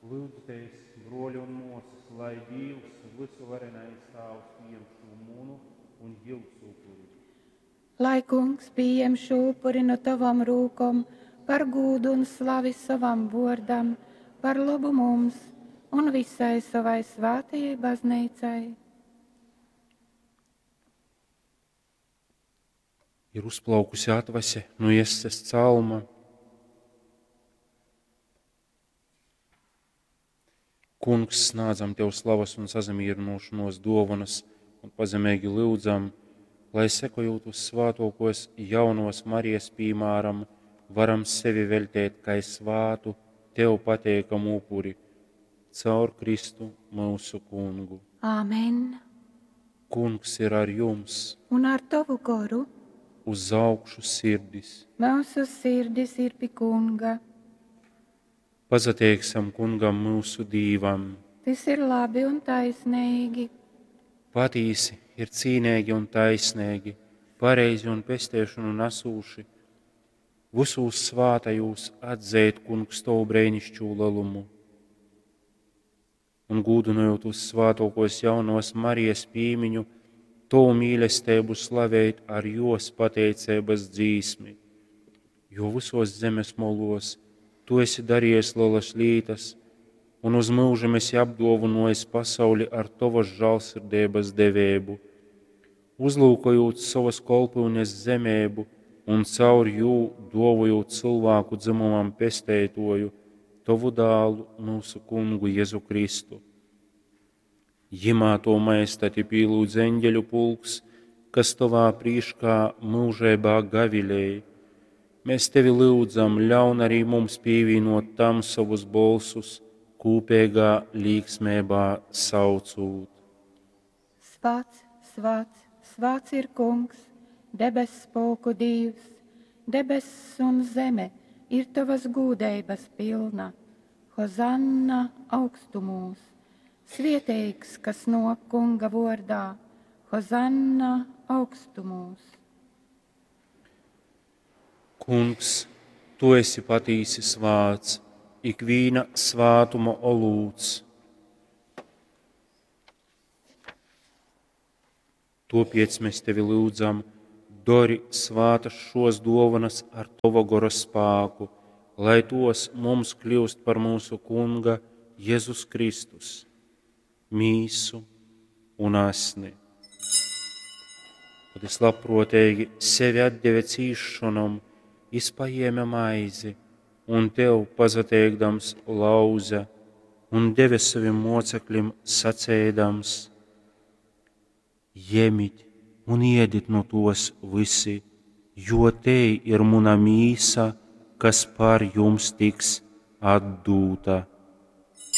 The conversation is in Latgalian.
Lyudzitēs, bruoļi un muosys, lai Dīvs, vysuvarenais Tāvs, pījem šū munu un jiusu upuri. Lai Kungs pījem šū upuri nu tovom rūkom par gūdu un slavi sovam vuordam, par lobu mums un visai sovai svātajai bazneicai. Ir uzplaukusi atvase nu Jesses calma. Kungs, snādzam Tev slavas un sasamierinošanos duovanas un pazemeigi lyudzam, lai sekojot uz svātokos jaunovas Marijas pīmāram, varam sevi veļtēt kai svātu, Tev pateikamu upuri, caur Kristu mūsu Kungu. Āmen. Kungs ir ar jums, Un ar tovu goru uz augšu sirdis. mūsu sirdis ir pi Kunga. Pasateiksim Kungam mūsu Dīvam. Tys ir labi un taisnīgi. Patīsi ir cīnīgi un taisnīgi, pareizi un pesteišanu nesūši, visūs svātajūs atzeit, Kungs, tavu brēnišķū lelumu. Un gūdinojot uz svātokos jaunos Marijas pīmiņu, tavu mīlestību slavēt ar jos pateicības dzīsmi, jo visos zemes molos tu esi darījis lielas lītas, un uz mūžam esi apdāvinājis pasauli ar tavas žēlsirdības devēbu, uzlūkojot savas kolpyunes zemēbu un caur jū dovojot cilvēku dzimumam pesteitoju, tavu dālu mūsu kungu Jēzu Kristu. Jimā to maestati pīlūdz eņģeļu pulks, kas tavā prīškā mūžībā gavilēja. Mēs tevi lūdzam, ļaun arī mums pievienot tam savus bolsus, kūpīgā līksmībā saucūt. Svāts, svāts, svāts ir Kungs, debess pulku Dīvs, debess un zeme ir tavas gūdeibas pilna. Hozanna augstumūs, svieteigs, kas nāk Kunga vordā, Hozanna augstumūs. Kungs, tu esi patīsi svāts, ikvīna svātuma olūts. Topiec mēs tevi lūdzam, dori svātas šos dovanas ar tava gora spāku, lai tos mums kļūst par mūsu Kunga Jēzus Kristus, mīsu un asni. Kad es labprātīgi sevi atdeve cīšanom, es paēma maizi un tev pasateikdams lauza un deve saviem mocekļiem sacēdams: Jemit un iedit no tos visi, jo te ir muna mīsa, kas par jums tiks atdūta.